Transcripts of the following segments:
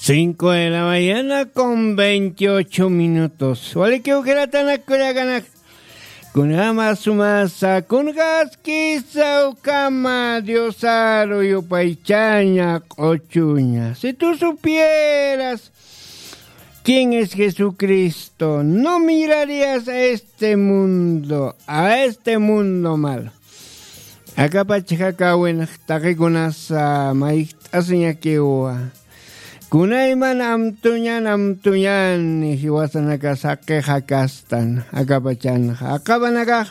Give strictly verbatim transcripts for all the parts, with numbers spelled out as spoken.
Cinco de la mañana con veintiocho minutos. Walikiw jilatanakkullakanaka, kunjama sumasa, kunjaskisa ukhama Diosaru yupaychaña q'uchuña. Si tú supieras quién es Jesucristo, no mirarías a este mundo, a este mundo malo. Akapachakawinx taqikunasa mayjt'asiñakiwa. Kunayman amtuñan amtuñan jiwasanakas jaqix jakastan akapachanxa. Aqhapanakax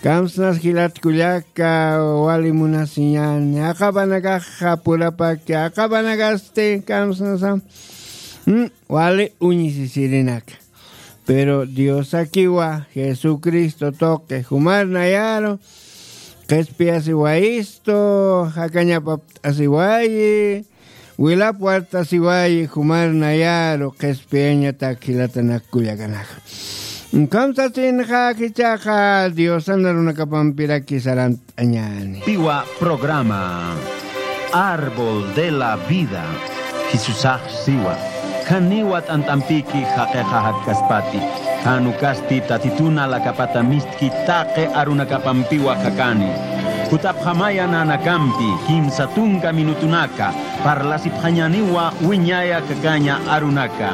kamsnas jilat kullaka wali munasiñani. Aqhapanakaxa purapaki, aqhapanakasti kamsnasa, mm, wali uñisisirinaka. Pero Diosakiwa Jesucristo tuqi jumar nayaru qhispiyasiwayistu, jakañapapt'asiwayi, wilapwartasiwayi jumar nayaru qhispiyañatak jilatanakkullakanaka. Kamsasinxa jichhaxa Diosan arunakapampiraki sarant añani. Piwa programa Árbol de la Vida. Jisusax siwa, janiwa t'ant'ampiki jaqixa jakkaspati. Jan ukasti Tatitun alakapatamistki taqi arunakapampiwa jakani. Jutapxamaya nanakampi kimsa tunka minutunaka parlasipxañaniwa wiñaya jakaña arunaka.